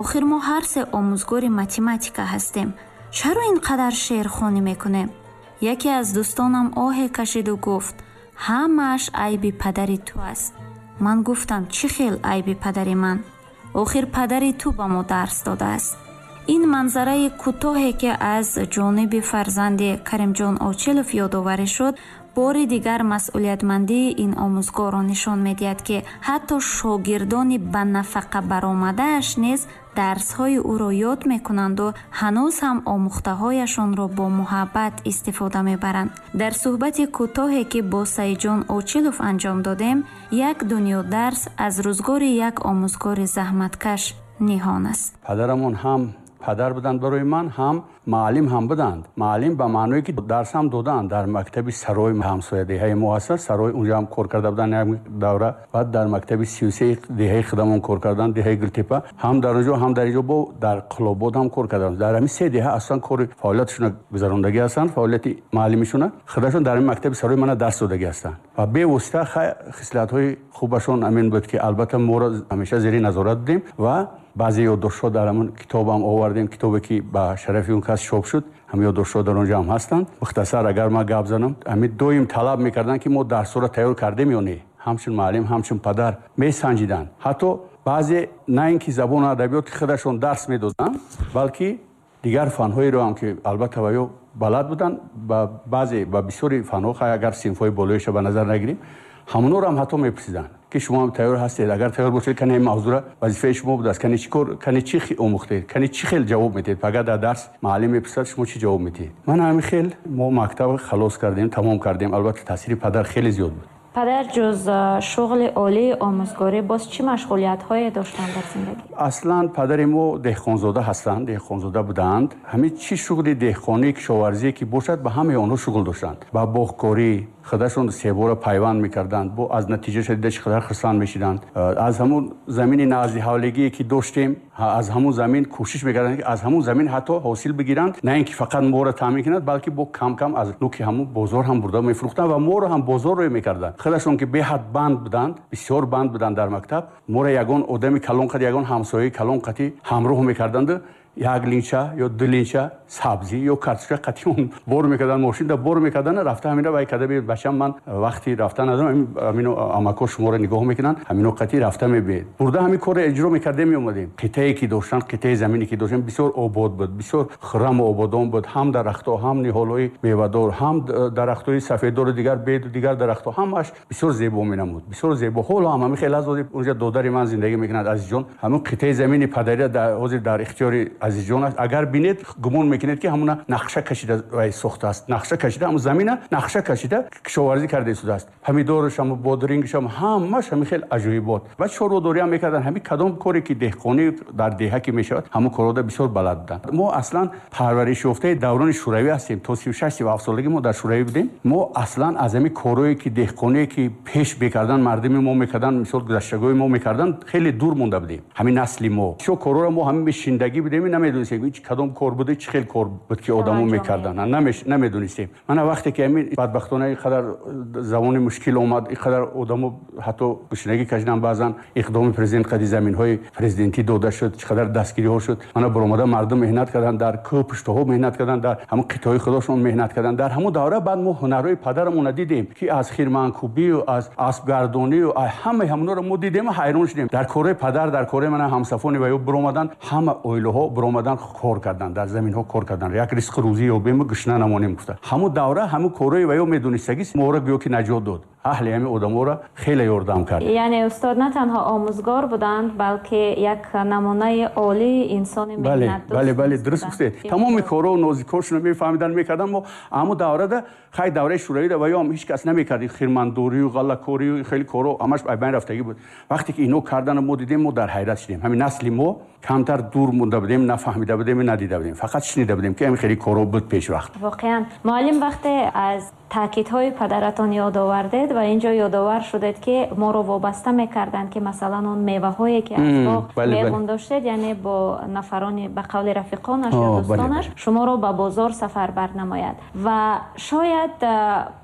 Охир мо ҳар се омӯзгори математика ҳастем. Чаро ин қадар шеърхонӣ мекунем? Яке аз дӯстонам оҳе кашиду гуфт: ҳамааш айби падари ту аст. Ман гуфтам: чӣ хел айби падари ман? Охир падари ту ба мо дарс додааст. Ин манзараи кӯтоҳе, ки аз ҷониби фарзанди Каримҷон Очилов ёдоварӣ шуд, бори дигар масъулиятмандии ин омӯзгорро нишон медиҳад, ки ҳатто шогирдони ба нафақа баромадааш низ дарсҳои ӯро ёд мекунанду ҳанӯз ҳам омӯхтаҳояшонро бо муҳаббат истифода мебаранд. Дар суҳбати кӯтоҳе, ки бо Саидҷон Очилов анҷом додем, як дунё дарс аз рӯзгори як омӯзгори заҳматкаш ниҳон аст. Падарамон ҳам падар буданд барои ман, ҳам муаллим ҳам буданд. Муаллим ба маъное, ки дарс ҳам доданд дар мактаби Сарои, ҳамсоя деҳаи мо ҳаст, Сарои, унҷо ҳам кор карда буданд як давра. Баъд дар мактаби 33 деҳаи худамон кор карданд, деҳаи Гултепа, ҳам дар онҷо, ҳам дар инҷо, бо дар Қулобод ҳам кор карданд. Дар ҳамин се деҳа аслан кори фаъолиятшона гузарондагӣ ҳастанд, фаъолияти муаллимишона. Худашон дар ҳамин мактаби Сарои мана дарс додагӣ ҳастанд ва бевосита хислатҳои хубашон ҳамин буд, ки албатта моро ҳамеша зери назорат будем ва баъзе ёддоштҳо дар ҳамон китобам овардем, китобе ки ба шарафи он кас чоп шуд, ҳамин ёддоштҳо дар он ҷо ҳам ҳастанд. Мухтасар агар ман гап занам, ҳамин доим талаб мекарданд, ки мо дарсҳоро тайёр кардем ё не. Ҳамчун муаллим, ҳамчун падар месанҷиданд. Ҳатто баъзе на ин ки забону адабиёти худашон дарс медоданд, балки дигар фанҳоеро ҳам, ки албатта ва ё балад буданд ба баъзе, ба бисёри фанҳо, хай агар синфҳои болоиша ба назар нагирем, ҳамонҳоро ҳам ҳатто мепурсиданд, ки шумо ҳам тайёр ҳастед? Агар тайёр бошед, кане ин мавзӯъра, вазифаи шумо будааст, кане чӣ кор, кане чӣ омӯхтед, кане чӣ хел ҷавоб медиҳед? Пага дар дарс муаллим мепурсад, шумо чӣ ҷавоб медиҳед? Ман ҳамин хел мо мактаб халос кардем, тамом кардем. Албатта, таъсири падар хеле зиёд буд. Падар ҷуз шуғли олии омӯзгорӣ боз чӣ машғулиятҳое доштанд дар зиндагӣ? Аслан падари мо деҳқонзода ҳастанд, деҳқонзода буданд. Ҳамин чӣ шуғли деҳқонӣ, кишоварзие ки бошад, ба ҳамаи онҳо шуғл доштанд. Ба боғкорӣ худашон себора пайванд мекарданд, бо аз натиҷаша дида чӣ қадар хурсанд мешиданд. Аз ҳамун замини назди ҳавлигие ки доштем, аз ҳамун замин кӯшиш мекарданд, ки аз ҳамун замин ҳатто ҳосил бигиранд, на ин ки фақат моро таъмин кунанд, балки бо кам-кам аз нуки ҳамун бозор ҳам бурда мефурӯхтанд ва моро ҳам бозор рӯй мекарданд. Худашон ки беҳад банд буданд, бисёр банд буданд дар мактаб, моро ягон одами калон қад, ягон ҳамсояи калон қати ҳамроҳ мекарданд, як линча ё ду линча сабзӣ ё картошка қатӣ он бор мекарданд, мошинда бор мекарданд, рафта ҳамина вай карда биёед, бачам, ман вақти рафта надорам, ҳамино амако шуморо нигоҳ мекунанд, ҳамино қатӣ рафта мебиед. Бурда ҳамин корро иҷро мекардем, меомадем. Қитъае ки доштанд, қитъаи замине ки доштем, бисёр обод буд, бисёр хурраму ободон буд, ҳам дарахтҳо, ҳам ниҳолҳои мевадор, ҳам дарахтҳои сафеддору дигар, беду дигар дарахтҳо, ҳамааш бисёр зебо менамуд, бисёр зебо. Ҳоло ҳам ҳамин хел аст. Онҷа додари ман зиндагӣ мекунад, Азизҷон. Ҳамин қитъаи замини падария ҳозир дар ихтиёри Азизҷон аст. Агар бинед, гумон мекунед, ки ҳамуна нақша кашида вай сохтааст, нақша кашида, ҳамун замина нақша кашида кишоварзӣ карда истодааст. Помидорашам, бодирингашам, ҳамаш ҳамин хел аҷоибот. Ва чорводориам мекарданд. Ҳамин кадом коре ки деҳқонӣ дар деҳа ки мешавад, ҳамун корҳода бисёр балад буданд. Мо аслан парваришёфтаи даврони шӯравӣ ҳастем. То 36, 37 солагӣ мо дар шӯравӣ будем. Мо аслан аз ҳамин корҳое ки деҳқоние ки пеш мекарданд, мардуми мо мекарданд, мисол гузаштагои мо мекарданд, хеле дур монда будем. Ҳамин насли мо бисёр корҳоро мо ҳамин шиндагӣ будем, намедонистем кадом кор буда, чӣ хел кор буд ки одамо мекарданд, намедонистем. Мана вақте ки ҳамин бадбахтона ин қадар замони мушкил омад, ин қадар одамо ҳатто гушнагӣ кашиданд, баъзан иқдоми президент қади заминҳои президентӣ дода шуд, чӣ қадар дастгириҳо шуд. Мана баромада мардум меҳнат карданд, дар кӯҳ пуштаҳо меҳнат карданд, дар ҳамун қитъаҳои худошон меҳнат карданд. Дар ҳамун давра баъд мо ҳунарҳои падарамонро дидем, ки аз хирманкӯбию аз аспгардонию ҳамаи ҳамонҳоро мо дидем, ҳайрон шудем. Дар корҳои падар, дар корҳои мана ҳамсафони ва ё биромаданд, ҳама оилаҳо биромаданд, кор карданд, дар заминҳо кор карданд, як ризқу рӯзӣ ёбему гушна намонем гуфта. Ҳамун давра ҳамун корҳои ва ё медонистагӣ моро гӯё ки наҷот дод, аҳли ҳамин одаморо хеле ёрдам кард. Яъне устод на танҳо омӯзгор буданд, балки як намунаи олии инсони меҳнатдӯст. Бале, дуруст гуфтед. Тамоми корҳо нозикҳошонро мефаҳмиданд, мекарданд. Мо ҳамун даврада, хай, давраи шӯравида ва ё ҳам ҳеҷ кас намекард, хирмандорию ғаллакорию хеле корҳо ҳамаш байн рафтагӣ буд. Вақте ки ино кардану мо дидем, мо дар ҳайрат шудем. Ҳамин насли мо камтар дур монда будем, нафаҳмида будем, надида будем, фақат шунида будем, ки ҳамин хеле корҳо буд пешвақт. Воқеан, муаллим вақте аз Таъкидҳои падаратон ёд овардед ва инҷо ёдовар шудед, ки моро вобаста мекарданд, ки масалан он меваҳое ки аз боғ меғун доштед, яъне бо нафарони ба қавли рафиқонаш ё дӯстонаш шуморо ба бозор сафар барнамояд. Ва шояд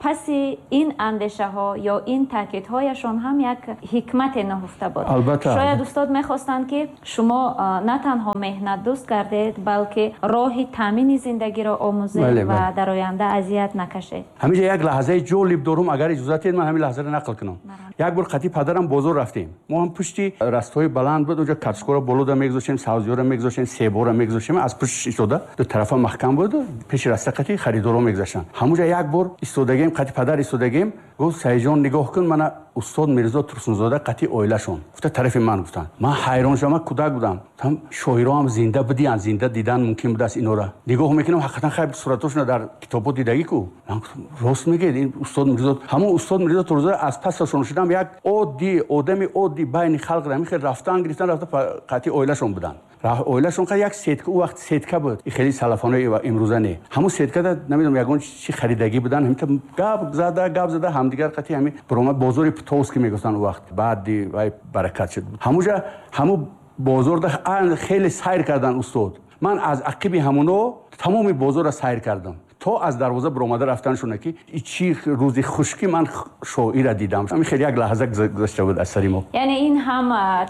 паси ин андешаҳо ё ин таъкидҳояшон ҳам як ҳикмате нуҳуфта буд. Шояд устод мехостанд, ки шумо на танҳо меҳнатдӯст гардед, балки роҳи таъмини зиндагиро омӯзед ва дар оянда азият накашед. Ҳаминҷа як лаҳзаи ҷолиб дорум, агар иҷозат диҳед ман ҳамин лаҳзаро нақл кунам. Як бор қатъи падарам бозор рафтем. Мо ҳам пушти растҳои баланд буд, онҷо картошкаро болода мегузоштем, сабзиёро мегузоштем, себоро мегузоштем. Аз пуштиш истода ду тарафа маҳкам буд, пеши раста қатъи харидоро мегузаштанд. Ҳамонҷа як бор истодагем, қатъи падар истодагем, гуфт: Саидҷон, нигоҳ кун, мана устод Мирзо Турсунзода қатъи оилашон. Гуфта тарафи ман гуфтанд. Ман ҳайрон шудам, ман кӯдак будам. Гуфтам шоиро ҳам зинда бидиянд, зинда дидан мумкин будааст инора. Нигоҳ мекунам, ҳақиқатан хайр суратошона дар китобҳо дидагӣ ку. Ман гуфтам рост мегӯед, ин устод Мирзо. Ҳамон устод Мирзо Турсунзода аз пасашон шудам, як оддӣ одами оддӣ байни халқ ҳамин хел рафтан гирифтан рафта қатъи оилашон буданд. Оилашон як сетка, ӯ вақт сетка буд, хеле салафонои имрӯза не. Ҳамон сеткада намедонам ягон чи харидагӣ буданд, ҳаминта гап зада гап зада ҳамдигар қатъи ҳамин баромад бозори Птовский мегуфтанд ӯ вақт. Баъди вай баракат шуд. Ҳамонҷа ҳамон бозорда хеле сайр карданд устод. Ман аз ақиби ҳамоно тамоми бозорро сайр кардам. То аз дарвоза баромада рафтаншона, ки чӣ рӯзи хушкӣ ман шоира дидам. Ҳамин хеле як лаҳза гузашта буд аз сари мо. Яъне ин ҳам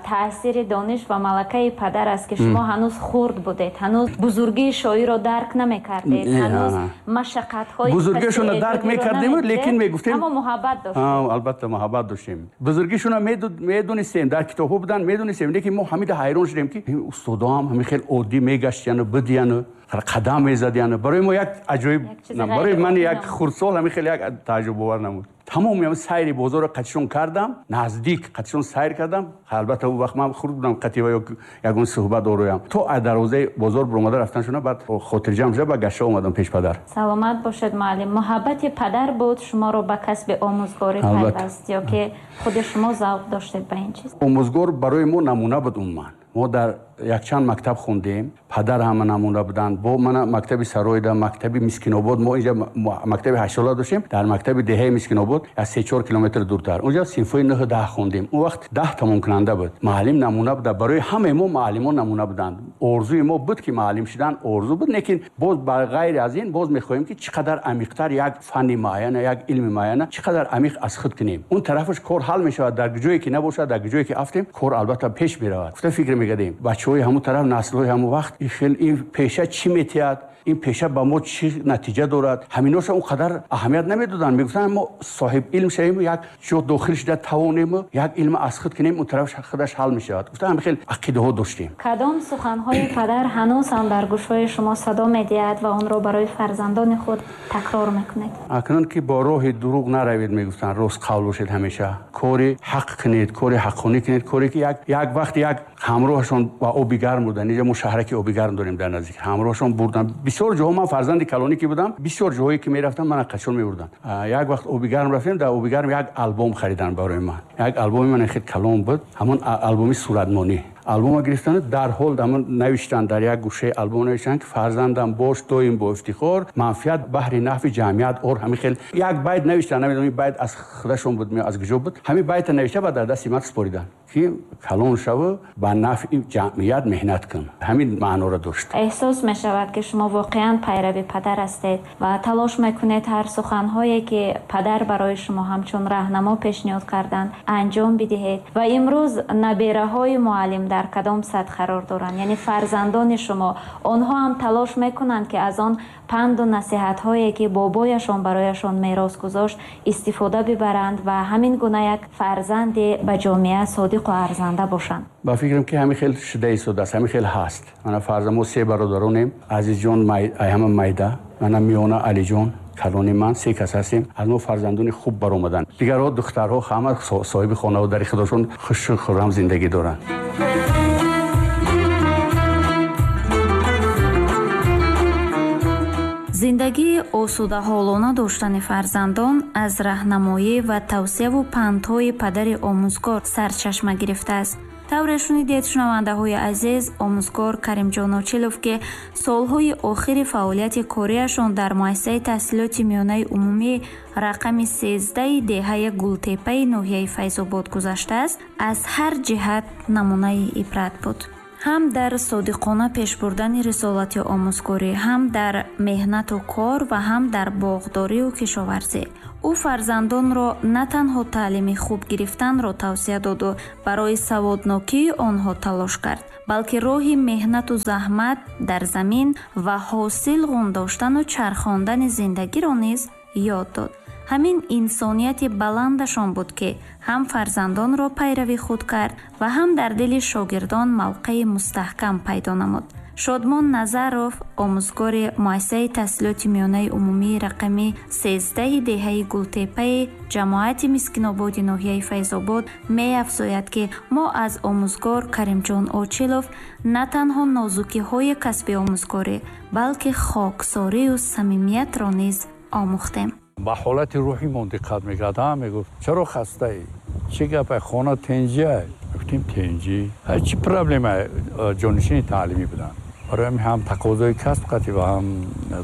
таъсири дониш ва малакаи падар аст, ки шумо ҳанӯз хурд будед, ҳанӯз бузургии шоирро дарк намекардед, ҳанӯз машаққатҳои бузургиашонро дарк мекардем, лекин мегуфтем, аммо муҳаббат доштем. Албатта муҳаббат доштем. Бузургишонро медонистем, дар китобҳо буданд, медонистем, лекин мо ҳамида ҳайрон шудем, ки устодоам ҳамин хел оддӣ мегаштияну бидияну қадам мезадияну. Барои мо як аҷоиб, барои ман як хурдсол ҳамин хеле як тааҷҷубовар намуд. Тамоми ҳамин сайри бозорро қатишон кардам, наздик қатишон сайр кардам. Албатта ӯ вақт ман хурд будам, қатъи ва ягон суҳбат ороям. То аз дарвозаи бозор баромада рафтаншона, баъд хотирҷамъ шуда ба гашта омадам пеш падар. Саломат бошед, муаллим. Муҳаббати падар буд шуморо ба касби омӯзгорӣ пайваст ё ки худи шумо завқ доштед ба ин чиз? Омӯзгор барои мо намуна буд умуман. Мо дар якчанд мактаб хондем, падар ҳама намуна буданд. Бо мана мактаби Сароида, мактаби Мискинобод, мо инҷа мактаби ҳаштсола доштем, дар мактаби деҳаи Мискинобод аз 3-4 километр дуртар. Онҷа синфҳои 9-10 хондем. Он вақт 10 тамомкунанда буд. Муаллим намуна буда. Барои ҳамаи мо муаллимон намуна буданд. Орзуи мо буд, ки муаллим шудан орзу буд, лекин боз ба ғайри аз ин боз мехоҳем, ки чӣ қадар амиқтар як фанни муайяна, як илми муайяна чӣ қадар амиқ аз худ кунем. Он тарафаш кор ҳал мешавад, дар ҷое ки набошад, дар ҷое ки афтем, кор албатта пеш меравад. Гуфта фикр мекардем, бачаҳои ҳамон тараф, наслҳои ҳамон вақт ин пеша чӣ метиҳад, ин пеша ба мо чӣ натиҷа дорад, ҳаминоша он қадар аҳамият намедоданд. Мегуфтанд мо соҳиб илм шавем, як ҷо дохил шуда тавонем, як илм аз худ кунем, он тараф худаш ҳал мешавад. Гуфта ҳамин хел ақидаҳо доштем. Кадом суханҳои падар ҳанӯз ҳам дар гӯшҳои шумо садо медиҳад ва онро барои фарзандони худ такрор мекунед? Акнун ки бо роҳи дурӯғ наравед, мегуфтанд, рост қавл бошед ҳамеша, кори ҳақ кунед, кори ҳаққонӣ кунед, коре ки як вақт як ҳамроҳашон ба оби гарм буданд. Инҷа мо шаҳраки оби гарм дорем дар наздик, ҳамроҳашон бурданд. Бисёр ҷоҳо ман фарзанди калонӣ ки будам, бисёр ҷоҳое ки мерафтам, мана қачон мебурданд. Як вақт оби гарм рафтем, дар оби гарм як албом хариданд барои ман. Як албоми ман хеле калон буд, ҳамон албоми суратмонӣ. Албома гирифтанд, дарҳол ҳамон навиштанд, дар як гӯшаи албом навиштанд, ки фарзандам бош доим бо ифтихор, манфиат баҳри нафъи ҷамъият ор. Ҳамин хел як байт навиштанд, намедонам ин байт аз худашон буд аз куҷо буд. Ҳамин байта навишта ба дар дасти ман супориданд, ки калон шав, ба нафъи ҷамъият меҳнат кун. Ҳамин маъноро дошт. Эҳсос мешавад, ки шумо воқеан пайрави падар ҳастед ва талош мекунед ҳар суханҳое ки падар барои шумо ҳамчун раҳнамо пешниҳод карданд анҷом бидиҳед. Ва имрӯз набераҳои муаллим дар кадом сатҳ қарор доранд? Яъне фарзандони шумо, онҳо ҳам талош мекунанд, ки аз он панду насиҳатҳое ки бобояшон барояшон мерос гузошт истифода бибаранд ва ҳамин гуна як фарзанде ба ҷомеа содиқу арзанда бошанд? Ба фикрам, ки ҳамин хел шуда истодааст, ҳамин хел ҳаст. Мана фарзанд, мо се бародаронем. Азизҷон ҳама майда, мана миёна Алиҷон, калони ман, се кас ҳастем. Аз мо фарзандони хуб баромаданд. Дигарҳо духтарҳо ҳама соҳиби хонаву дари худошон хушу хуррам зиндагӣ доранд. Зиндагии осудаҳолона доштани фарзандон аз раҳнамоӣ ва тавсияву пандҳои падари омӯзгор сарчашма гирифтааст. Тавре шунидед, шунавандаҳои азиз, омӯзгор Каримҷон Очилов, ки солҳои охири фаъолияти кориашон дар муассисаи таҳсилоти миёнаи умумӣ рақами 13 деҳаи Гултепаи ноҳияи Файзобод гузаштааст, аз ҳар ҷиҳат намунаи ибрат буд. Ҳам дар содиқона пеш бурдани рисолати омӯзгорӣ, ҳам дар меҳнату кор ва ҳам дар боғдорию кишоварзӣ. Ӯ фарзандонро на танҳо таълими хуб гирифтанро тавсия доду барои саводнокии онҳо талош кард, балки роҳи меҳнату заҳмат дар замин ва ҳосил ғундоштану чархондани зиндагиро низ ёд дод. Ҳамин инсонияти баландашон буд, ки ҳам фарзандонро пайрави худ кард ва ҳам дар дили шогирдон мавқеи мустаҳкам пайдо намуд. Шодмон Назаров, омӯзгори муассисаи таҳсилоти миёнаи умумии рақами 13 деҳаи Гултепаи ҷамоати Мискинободи ноҳияи Файзобод, меафзояд, ки мо аз омӯзгор Каримҷон Очилов на танҳо нозукиҳои касби омӯзгорӣ, балки хоксорию самимиятро низ омӯхтем. Ба ҳолати рӯҳимон диққат мекард. Мегуфт: чаро хастаӣ? Чӣ гапа? Хона тенҷиа? Гуфтем: тенҷӣ. Чӣ проблема? Ҷонишини таълимӣ буданд. Барои ҳамин ҳам тақозои касб қатъӣ ва ҳам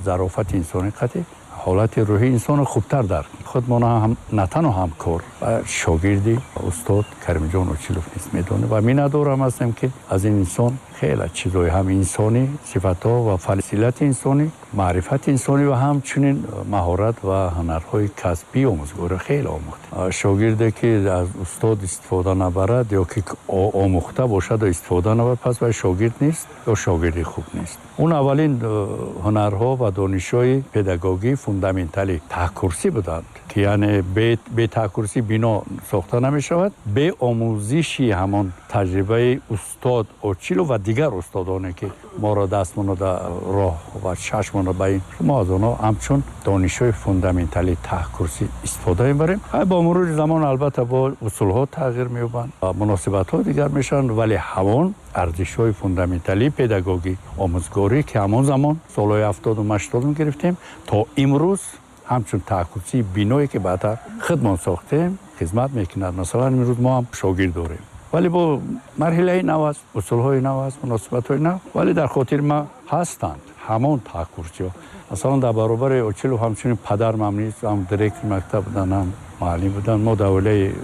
зарофати инсонӣ қатъӣ ҳолати рӯҳии инсонро хубтар дарк. Худмон ҳам на танҳо ҳамкор ва шогирди устод Каримҷон Очилов низ медонем ва миннатдорам ҳастем, ки аз ин инсон хеле чизҳои ҳам инсонӣ, сифатҳо ва фазилати инсонӣ, маърифати инсонӣ ва ҳамчунин маҳорат ва ҳунарҳои касбии омӯзгорӣ хеле омӯхтем. Шогирде ки аз устод истифода набарад ё ки омӯхта бошад ва истифода набарад, пас вай шогирд нест ё шогирди хуб нест. Он аввалин ҳунарҳо ва донишҳои педагогии фундаменталӣ таҳкурсӣ буданд, ки яъне бе таҳкурсӣ бино сохта намешавад, бе омӯзиши ҳамон таҷрибаи устод Очилов ва дигар устодоне ки моро дастмонро дар роҳ ва чашмонро ба ин, мо аз онҳо ҳамчун донишҳои фундаменталии таҳкурсӣ истифода мебарем. Бо мурури замон албатта бо усулҳо тағйир меёбанд, муносибатҳо дигар мешаванд, вале ҳамон арзишҳои фундаменталии педагогӣ омӯзгорӣ, ки ҳамон замон солҳои 70-ум 80-ум гирифтем, то имрӯз ҳамчун таҳкурсии биное ки баъдтар худмон сохтем хизмат мекунад. Масалан, имрӯз мо ҳам шогирд дорем, вале бо марҳилаи нав аст, усулҳои нав аст, муносибатҳои нав, вале дар хотири ма ҳастанд ҳамон таҳкурсиҳо. Масалан, дар баробари Очилов ҳамчунин падармам низ ҳам директори мактаб буданд, ҳам муаллим буданд. Мо дар оилаи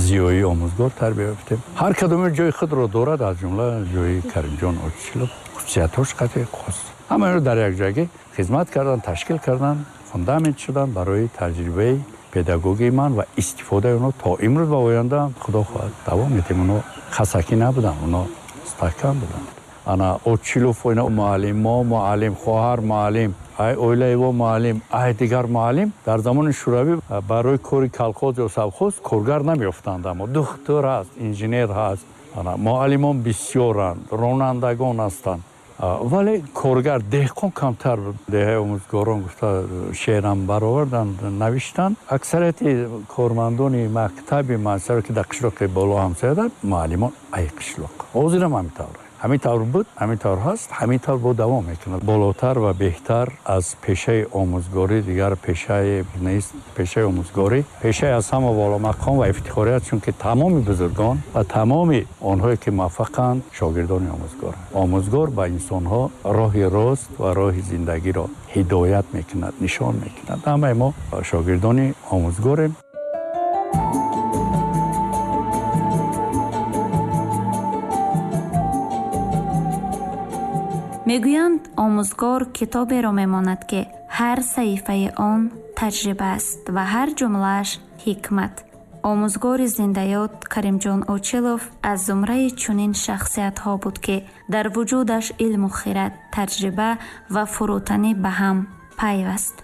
зиёӣ омӯзгор тарбия ёфтем. Ҳар кадоме ҷои худро дорад, аз ҷумла ҷои Каримҷон Очилов хусусиятҳош қатъи хос. Ҳамаро дар як ҷойгӣ хизмат кардан, ташкил кардан, фундамент шудан барои таҷрибаи педагогии ман ва истифодаи онҳо то имрӯз ва оянда худо хоҳад давом медиҳем. Онҳо хасакӣ набуданд, онҳо мустаҳкам буданд. Ана Очилов, ина муаллим, мо муаллим, хоҳар муаллим, ай оилаи во муаллим, ай дигар муаллим. Дар замони Шӯравӣ барои кори колхоз ё совхоз коргар намеёфтанд, аммо духтур ҳаст, инженер ҳаст, муаллимон бисёранд, ронандагон ҳастанд, вале коргар деҳқон камтар буд. Деҳаи омӯзгорон гуфта шеърам бароварданд, навиштанд. Аксарияти кормандони мактаби муассисаро, ки дар қишлоқи боло ҳамсояда, муаллимон ай қишлоқ. Ҳозирам ҳамин тавр, ҳамин тавр буд, ҳамин тавр ҳаст, ҳамин тавр бо давом мекунад. Болотар ва беҳтар аз пешаи омӯзгорӣ дигар пешае нест. Пешаи омӯзгорӣ пешаи аз ҳама боломақом ва ифтихорӣ аст, чунки тамоми бузургон ва тамоми онҳое ки муваффақанд шогирдони омӯзгоранд. Омӯзгор ба инсонҳо роҳи рост ва роҳи зиндагиро ҳидоят мекунад, нишон мекунад. Ҳамаи мо шогирдони омӯзгорем. Мегӯянд, омӯзгор китоберо мемонад, ки ҳар саҳифаи он таҷриба аст ва ҳар ҷумлааш ҳикмат. Омӯзгори зиндаёд Каримҷон Очилов аз зумраи чунин шахсиятҳо буд, ки дар вуҷудаш илму хирад, таҷриба ва фурӯтанӣ ба ҳам пайваст.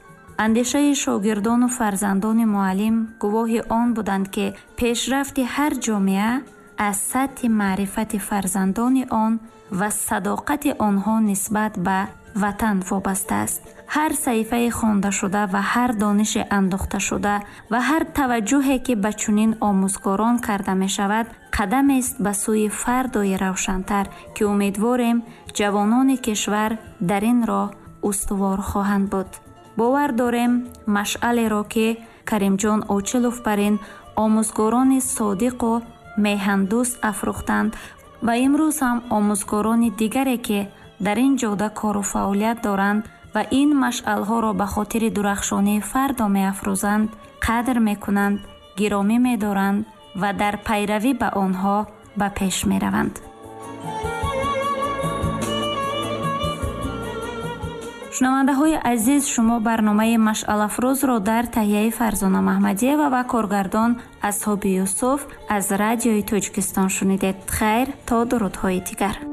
Андешаи шогирдону фарзандони муаллим гувоҳи он буданд, ки пешрафти ҳар ҷомеа аз сатҳи маърифати фарзандони он ва садоқати онҳо нисбат ба ватан вобаста аст. Ҳар саҳифаи хондашуда ва ҳар дониши андохташуда ва ҳар таваҷҷӯҳе, ки ба чунин омӯзгорон карда мешавад, қадамест ба сӯи фардои равшантар, ки умедворем ҷавонони кишвар дар ин роҳ устувор хоҳанд буд. Бовар дорем, машъалеро, ки Каримҷон Очилов бар ин омӯзгорони содиқу меҳандӯст афрӯхтанд ва имрӯз ҳам омӯзгорони дигаре, ки дар ин ҷода кору фаъолият доранд ва ин машъалҳоро ба хотири дурахшонии фардо меафрӯзанд, қадр мекунанд, гиромӣ медоранд ва дар пайравӣ ба онҳо ба пеш мераванд. Шунавандаҳои азиз, шумо барномаи Машъалафрӯзро дар таҳияи Фарзона Маҳмадиева ва коргардон Асҳоби Юсуф аз Радиои Тоҷикистон шунидед. Хайр, то дурудҳои дигар.